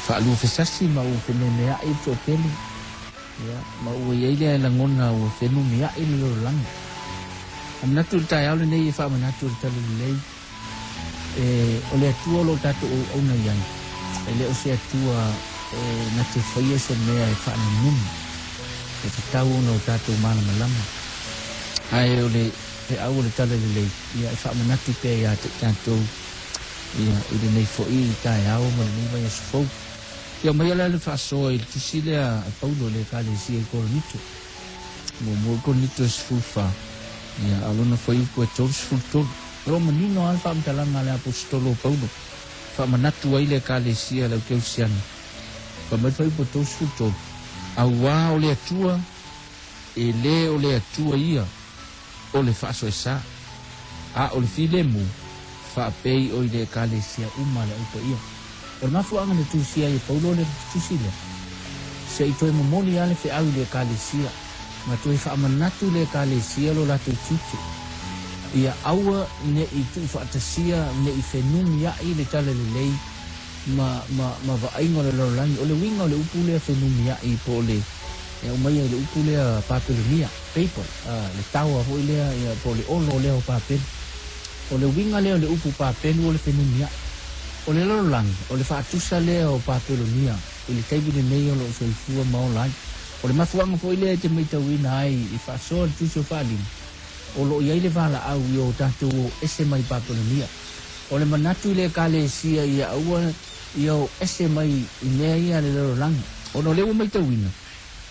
Faaluafesasi ma ua fememea'i le toatele, ia, ma ua i ai lea lagona ua fenumia'i le lalolagi. A manatu i le taeao lenei e faamanatu i le Talalelei, e, o le Atua o lo o tatou auauna i ai, e le o se Atua e na te faia se mea e faanunumi, e tatau ona o tatou malamalama. Ae o le feau o le Talalelei, ia, e faamanatu pea ia te i tatou, ia, i lenei foi taeao ma lenei vaiaso fou. Ia aumaia la le faasoa i le tusi lea a Paulo i le Ekalesia i Korinito, muamua Korinito e 14, ia, a o lona fuaiupu e 33. O lo o manino lava le faamatalaga a le Aposetolo o Paulo, e faamanatu ai le Ekalesia a le Aukerisiano. Fai mai le fuaiupu e 33, Auā o le Atua, e lē o le Atua ia o le faasoesa, a o le filemu, faapei o i le Ekalesia uma a le Au Paia. O le mafuaaga na tusia ai e Paulo le tusi lea, se i toe momoli lava le feau i le Ekalesia, ma toe faamanatu i le Ekalesia lo latou tiute, ia aua ne i tuufaatasia, ne i fenumiai le talalelei ma, ma, ma vaaiga o le lalolagi. O le uiga o le upu lea fenumiai po o le, e aumaia i le upu lea Papelonia, Babel, le taoa foi lea, ia, po o le olo lea o Papelu. O le uiga lea o le upu Papelu o le fenumiai. O le lalolagi, o le faatusa lea o Papelonia i le taimi lenei o lo o soifua ma ola ai. O le mafuaaga foi lea e te matauina ai i faasoa le Tusi o Faalima, o lo o i ai le valaau i o tatou o ese mai Papelonia. O le manatu i le Ekalesia ia aua ia o ese mai i mea ia a le lalolagi, ona o lea ua matauina,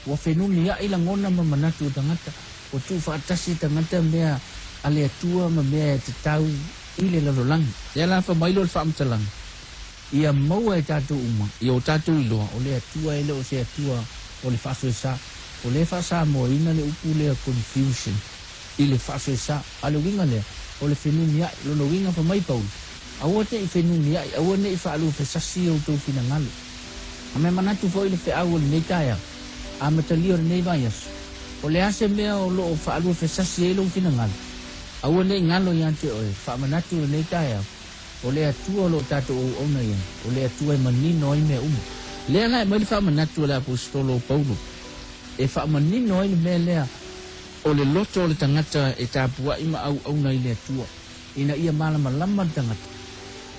Ua fenumia'i lagona ma manatu o tagata, ua tuufaatasi tagata mea a le Atua ma mea e tatau i le lalolagi. Lea la fa mai lea o le faamatalaga, ia maua e tatou uma, ia o tatou iloa, o le Atua e le o se Atua o le faasoesa. O lea e faasamoaina le upu lea confusion i le faasoesa. A o le uiga lea, o le fenumia'i. Lona uiga fa mai Paulo, Aua te i fenumia'i, aua ne i faaluafesasi outou finagalo. A mea manatu foi le feau o lenei taeao, amatalia o lenei vaiaso, o le a se mea o lo o faaluafesasi ai lou finagalo? Aua ne i galo ia te oe, faamanatu lenei taeao, o le Atua o lo o tatou auauna i ai, o le Atua e manino ai mea uma. Lea la e aumai le faamanatu a le Aposetolo o Paulo e faamanino ai le mea lea o le loto o le tagata e tapuai ma auauna i le Atua, ina ia malamalama le tagata.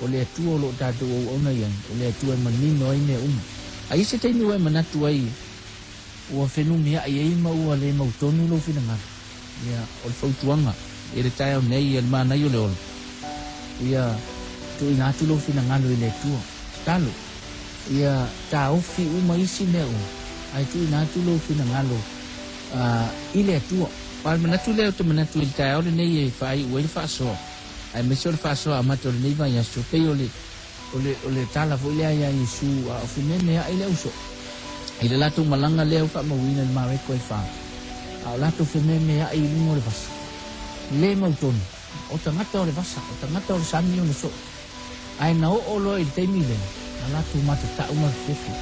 O le Atua o lo o tatou auauna i ai, o le Atua e manino ai mea uma. A i ai se taimi ua e manatu ai ua fenumiaʻi ai ma ua le mautonu lou finagalo, ia, o le fautuaga i le taeao nei ia le manaia o le ola, ia tuuina atu lou finagalo i le Atua. Tatalo, ia taofi uma isi mea uma, ae tuuina atu lou finagalo i le Atua. O le manatu lea ou te manatu i le taeao lenei e faaiu ai le faasoa. Aemaise o le faasoa amata o lenei vaiaso, pei o le, o le, o le tala foi lea iā Iesu a o fememeaʻi le ausoo i le latou malaga lea ua faamauina i le Mareko e fa, a o latou fememeaʻi i luga o le vasa. Le mautonu, o tagata o le vasa, o tagata o le sami o le soo. Ae na oo loa i le taimi lea, na latou matatau ma fefefe,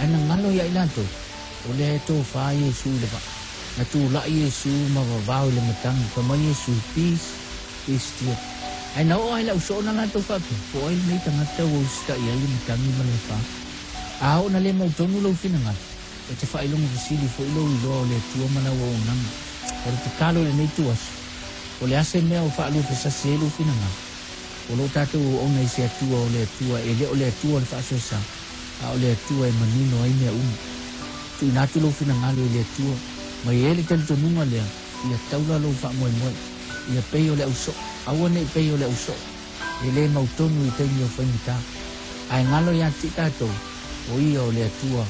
ae na galo ia i latou, o lea e tofa Iesu i le vaa. Na tulai Iesu ma vavao i le matagi, fai mai Iesu, Peace, Be still. Ae na oo ai lau soo na latou faapea, Po o ai lenei tagata ua usitai ai le matagi ma le afa? A oo na le mautonu lou finagalo, e te faailoga fesili foi lou iloa o le Atua ma lau auaunaga. O le tatalo i lenei ituaso, o le a se mea o faaluafesasi ai lou finagalo? O lo tatou auauna i se Atua o le Atua, e le o le Atua o le faasoesa, a o le Atua e manino ai mea uma. Tuuina atu lou finagalo i le Atua, ma i ai le talitonuga lea, Ia taula lou faamoemoe, ia pei o le ausoo, aua ne i pei o le ausoo, e le mautonu i taimi o faigata. Ae galo ia te tatou, o Ia o le Atua,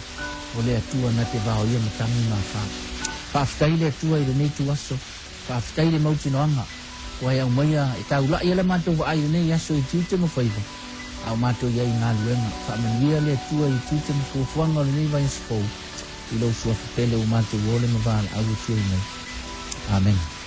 o le Atua na te vaoia matagi ma afa. Faafetai i le Atua i lenei ituaso, faafetai i le mautinoaga ua e aumaia e taula'i ai la matou vaai i lenei aso i tiute ma faiva, a o matou i ai i galuega. Faamanuia le Atua i tiute ma fuafuaga o lenei vaiaso fou. I lou suafa pele ua matou ole ma valaau atu ai nei. Amene.